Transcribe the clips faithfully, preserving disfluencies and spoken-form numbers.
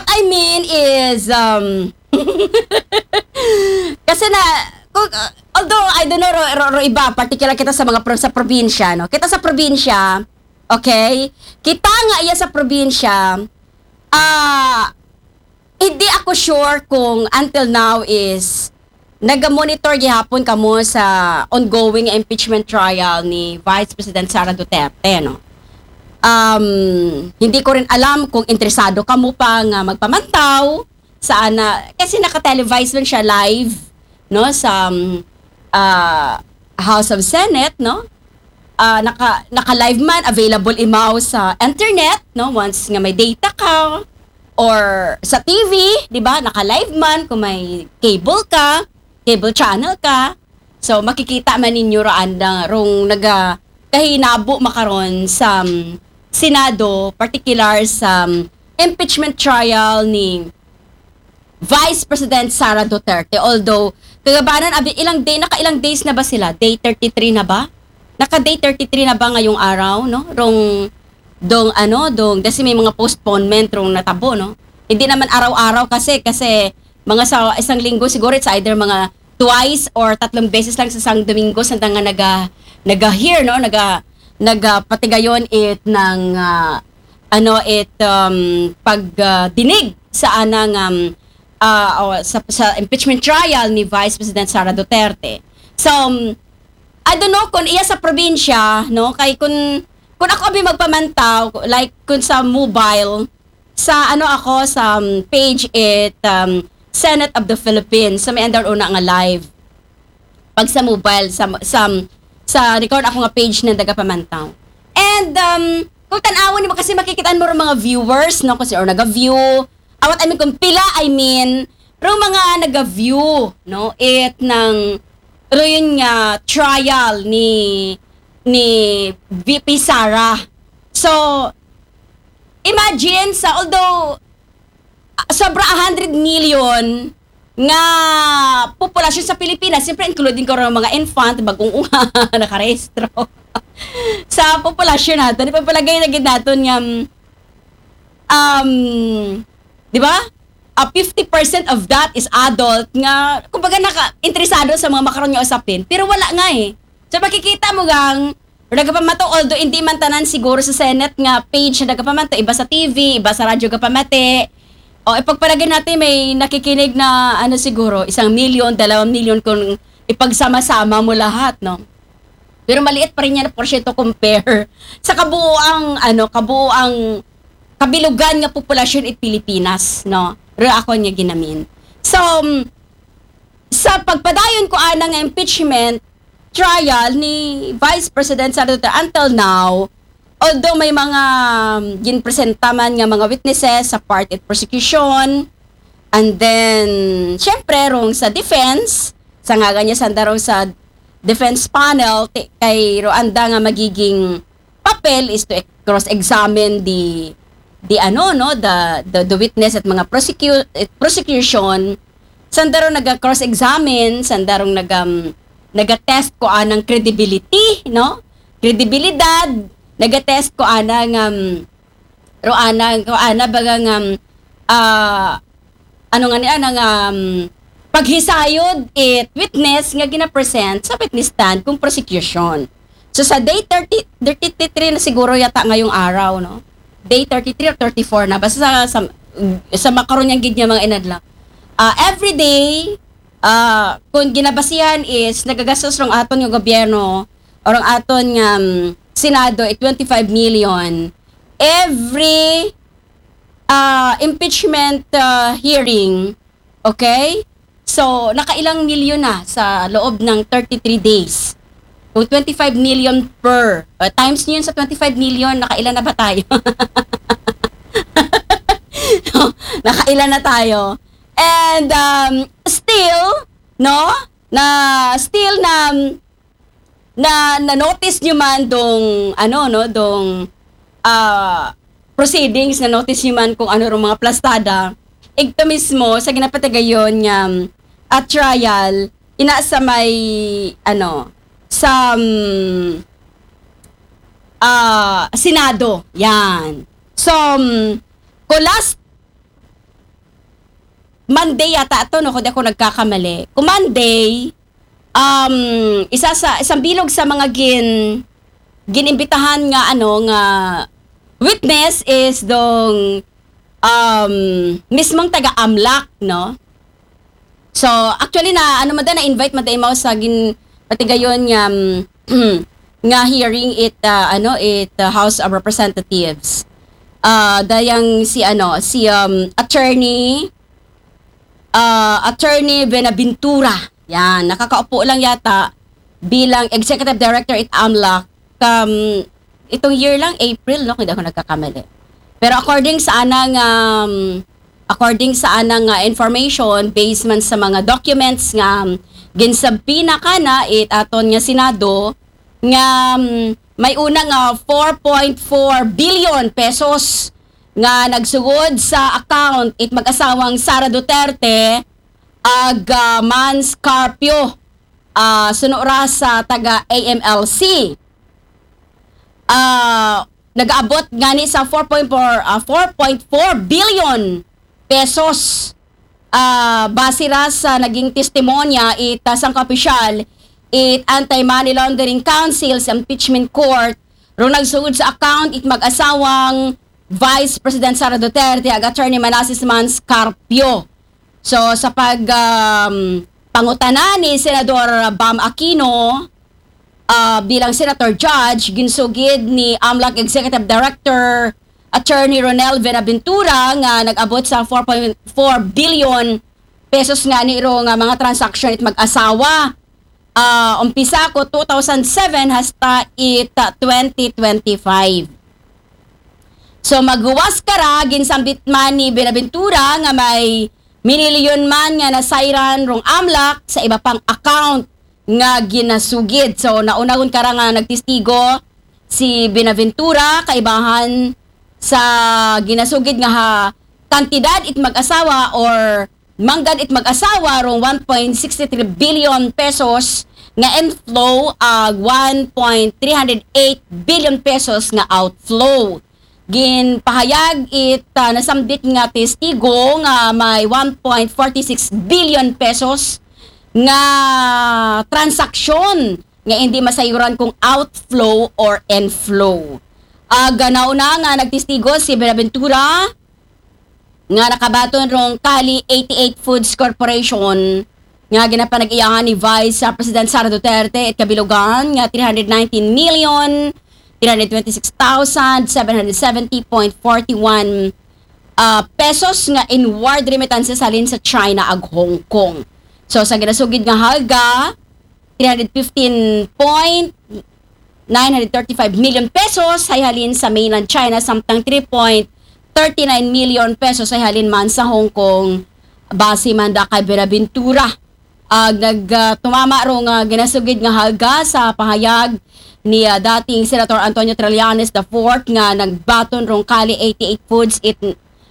I mean is, um, kasi na, kung, uh, although, I don't know, ro, ro, ro iba, particular kita sa mga pro, sa probinsya, no? Kita sa probinsya, okay? Kita nga iya sa probinsya, ah, hindi ako sure kung until now is naga-monitor gihapon kamo sa ongoing impeachment trial ni Vice President Sara Duterte, no? Um, hindi ko rin alam kung interesado kamo pa nga magpamantaw sa ana, kasi naka-televise man siya live, no, sa, um, ah, House of Senate, no? Ah, naka, naka-live man, available imaw sa internet, no? Once nga may data ka, or sa T V, di ba? Naka-live man kung may cable ka, cable channel ka. So, makikita man ninyo raan na rong naga kahinabo makaron sa, um, Senado, particular sa, um, impeachment trial ni Vice President Sara Duterte. Although, kagabanan, abi, ilang day, naka ilang days na ba sila? Day thirty-three na ba? Naka day thirty-three na ba ngayong araw, no? Rong, dong, ano, dong, kasi may mga postponement rong natabo, no? Hindi naman araw-araw kasi, kasi mga sa isang linggo siguro, it's either mga twice or tatlong beses lang sa isang Domingo sa nga naga, naga-hear, no? Naga, naga patigayon it ng, ah, ano, it, um, pag, ah, dinig sa anang, um, ah, o sa, sa impeachment trial ni Vice President Sara Duterte. So, um, I don't know kung iya sa probinsya, no? Kay kung, kung ako abi magpamantaw, like, kung sa mobile, sa ano ako, sa, um, page it, um, Senate of the Philippines, sa may andar una nga live. Pag sa mobile, sa, sa, sa record ako nga page na nagapamantaw. And, um, kung tanawon mo kasi makikita mo rin mga viewers, no? Kasi or naga-view, awat I mean kung pila, I mean, ro mga naga-view, no? It ng, ro yun nga, trial ni, ni V P Sara. So, imagine sa, although, ah, sobra a hundred million nga populasyon sa Pilipinas, siyempre including ko rin mga infant, bagong unga, nakarehistro. Sa populasyon natin, ipapalagay na gid natin nga, um, di ba? Ah, fifty percent of that is adult nga, kumbaga, naka-interesado sa mga makaron nga usapin, pero wala nga eh. So, makikita mo gang, nagapamato, although hindi man tanan siguro sa Senate nga page na nagapamato, iba sa T V, iba sa radyo gapamati. O, ipagpalagay natin may nakikinig na, ano siguro, isang milyon, dalawang milyon kung ipagsama-sama mo lahat, no? Pero maliit pa rin yan na porsyento compare sa kabuoang, ano, kabuoang kabilugan nga populasyon it Pilipinas, no? Pero ako nga ginamin. So, um, sa pagpadayon ko anang impeachment trial ni Vice President Sara Duterte until now, although may mga, um, ginpresenta man nga mga witnesses sa part it prosecution, and then, syempre, rong sa defense, sa ngagan niya, sanda rong sa defense panel, ti-, kay ro anda nga magiging papel is to cross-examine the, the ano, no, the, the, the witness at mga prosecu-, eh, prosecution, sanda ro naga-cross-examine, sanda rong naga, um, naga-test ko anang credibility, no? Kredibilidad, naga-test ko anang, um, ro ana, ko ana baga nga, um, ah, ano nga ni, ana nga, um, paghisayod it witness nga gina-present sa witness stand kung prosecution. So, sa day thirty, thirty-three na siguro yata ngayong araw, no? Day thirty-three or thirty-four na, basta sa, sa, sa makaron yang gid nga mga inadlaw. Ah, every day, ah, kung ginabasihan is nagagastos rong aton nga gobyerno or ang aton nga, um, Senado, eh, twenty-five million every, ah, impeachment, ah, hearing, okay? So, nakailang milyon na sa loob ng thirty-three days. Kung twenty-five million per, uh, times nyo yun sa twenty-five million, nakailan na ba tayo? Nakailan na tayo? And, um, still, no? Na, still na, na, na-notice nyo man dong, ano, no, dong, ah, proceedings, na-notice nyo man kung ano rong mga plastada, igto mismo sa ginapatigayon nga, um, at trial, ina sa may, ano, sa, um, ah, Senado. Yan. So, um, kung last Monday yata to, no, kung di ako nagkakamali. Kung Monday, um, isa sa, isang bilog sa mga gin, ginimbitahan nga, ano, nga witness is dong, um, mismong taga-AMLAC, no? So, actually na, ano man da, na-invite man da imaw sa gin, patigayon nga, um, nga hearing it, uh, ano, it, uh, House of Representatives. Uh, dayang si, ano, si, um, attorney, uh, Attorney Buenaventura. Yan, nakakaupo lang yata bilang executive director it AMLAC. Um, itong year lang, April, no, kung di ako nagkakamali. Pero according sa anang, um, according sa anang, uh, information, based man sa mga documents nga, um, ginsubpoena kana it aton nga Senado, nga, um, may una nga four point four billion pesos nga nagsugod sa account it mag-asawang Sara Duterte ag, ah, Mans Carpio, ah, suno ra sa taga A M L C. Ah, nag-aabot gani sa four point four, ah, four point four billion pesos, ah, base ra sa naging testimonya it, ah, sangka opisyal it Anti-Money Laundering Council sa Impeachment Court rong nagsugod sa account it mag-asawang Vice President Sara Duterte ag Attorney Manasseh Mans Carpio. So, sa pag, um, pangutana ni Senador Bam Aquino, ah, bilang Senator Judge, ginsugid ni AMLAC Executive Director Attorney Ronel Buenaventura nga nag-abot sa four point four billion pesos nga niro nga mga transaction it mag-asawa. Ah, umpisa ko two thousand seven hasta it, ah, twenty twenty-five. So, maghuwas kara, ginsambit man ni Buenaventura nga may minilyon man nga nasayran rong AMLAC sa iba pang account nga ginasugid. So, nauna gud kara nga nagtestigo si Buenaventura, kaibahan sa ginasugid nga ha, kantidad it mag-asawa or manggad it mag-asawa rong one point six three billion pesos nga inflow ag one point three hundred eight billion pesos nga outflow. Ginpahayag it, ah, nasambit nga testigo nga may one point forty six billion pesos nga transaksyon nga hindi masayuran kung outflow or inflow. Ag nauna nga nagtestigo si Buenaventura nga nakabaton rong Kali eighty-eight Foods Corporation nga ginapanag-iyahan ni Vice, ah, President Sara Duterte it kabilugan nga three hundred nineteen million three hundred twenty-six thousand seven hundred seventy point forty-one, ah, pesos nga inward remittances halin sa China ag Hong Kong. So, sa ginasugid nga halga, three hundred fifteen point nine hundred thirty-five million pesos hay halin sa mainland China, samtang three point thirty-nine million pesos hay halin man sa Hong Kong, base man da kay Buenaventura. Ag nag, ah, tumama ro nga ginasugid nga halga sa pahayag ni, ah, dating Senator Antonio Trillanes the fourth nga nagbaton rong Kali eighty-eight Foods it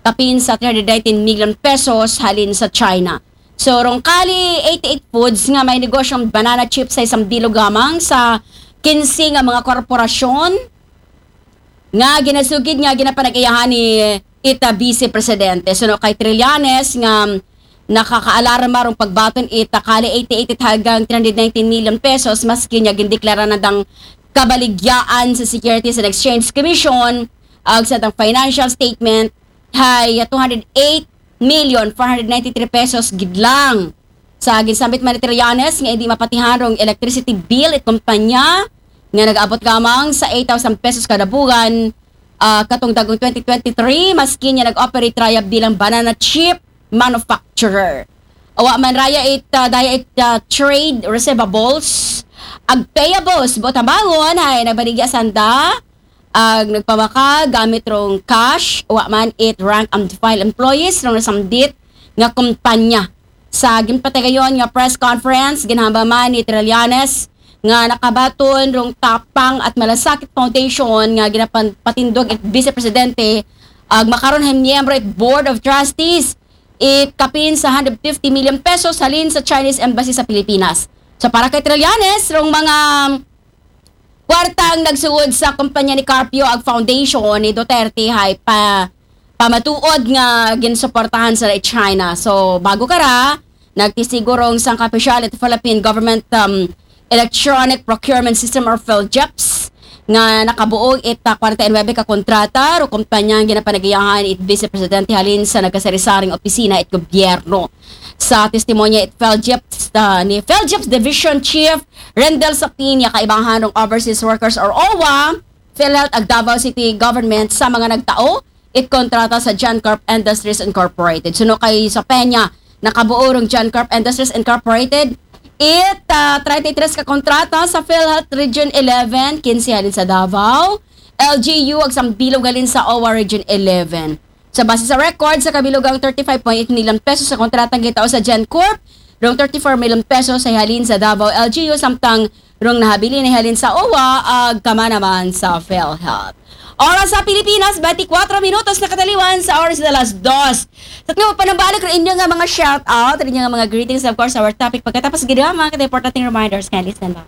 kapin sa three hundred nineteen million pesos halin sa China. So, rong Kali eighty-eight Foods nga may negosyong banana chips hay sambilog lamang sa kinse nga mga korporasyon nga ginasugid nga ginapanag-iyahan ni ita Vice Presidente. Suno kay Trillanes nga nakakaalarma rong pagbaton ita Kali eighty-eight it halgang three hundred nineteen million pesos, maski nga gindeklara na dang kabaligyaan sa Securities and Exchange Commission ag sa dang financial statement hay two hundred eight million four hundred ninety-three pesos gid lang. Sa ginsambit man ni Trillanes nga hindi mapatihan rong electricity bill it kumpanya nga nag-abot lamang sa eight thousand pesos kada buwan, ah, katong dagong twenty twenty-three, maski niya nag-operate raya bilang banana chip manufacturer. Awa man raya it, ah, daya it, ah, trade receivables, ag payables, buot hambagon hay nagbaligya sanda ag nagpamaka gamit rong cash, wa man it rank and file employees rong nasambit nga kumpanya. Sa ginpatigayon nga press conference, ginhambal man ni Trillanes nga nakabaton rong Tapang at Malasakit Foundation nga ginapatindog it Vice Presidente ag makaron hay miyembro it Board of Trustees it kapin sa hundred fifty million pesos halin sa Chinese Embassy sa Pilipinas. So, para kay Trillanes, rong mga kwartang nagsugod sa kumpanya ni Carpio ag foundation ni Duterte hay pa, ah, matuod nga ginsuportahan sa China. So, bago kara, nagtestigo rong sangka opisyal it Philippine Government, um, Electronic Procurement System or PhilGEPS nga nakabuo it, ah, kwarenta y nuebe ka kontrata rong kumpanya nga ginapanagiyahan it Vice Presidente halin sa nagkasari-saring opisina it gobyerno. Sa testimonya it PhilGEPS, ah, ni PhilGEPS Division Chief Rendel Sapin, ya kaibahan rong Overseas Workers or OWWA, PhilHealth ug Davao City Government sa mga nagtao it kontrata sa GenCorp Industries Incorporated. Suno kay Sapin, ya nakabuo rong GenCorp Industries Incorporated it, ah, treinta y tres ka kontrata sa PhilHealth Region eleven, kinse halin sa Davao, LGU ug sambilog halin sa OWWA Region eleven. Sa base sa record, sa kabilugang thirty-five point eight million pesos sa kontratang gitao sa GenCorp, rong thirty-four million pesos sa halin sa Davao LGU, samtang rong nahabilin na halin sa OWWA ug kama naman sa PhilHealth. Oras sa Pilipinas, twenty-four minutos na kataliwan sa oras na alas dos. Sa tingin panambalik rin inyo nga mga shout out, rin inyo nga mga greetings, of course, our topic pagkatapos gid ang mga importanteng reminders. Kindly stand by.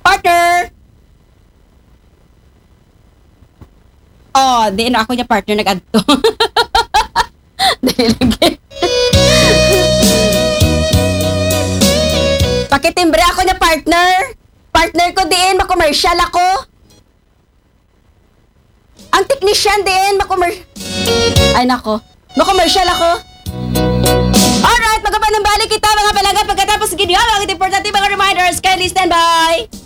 Partner! Oh, di na ako niya partner nag-adto. Dali lagi. Pakitimbre ako niya partner. Partner ko diin, makomersyal ako. Ang technician diin, makomer... Ay nako. Makomersyal ako. Alright, magkapanambalik kita mga palangga pagkatapos gid ang mga importante mga reminders. Kindly stand by.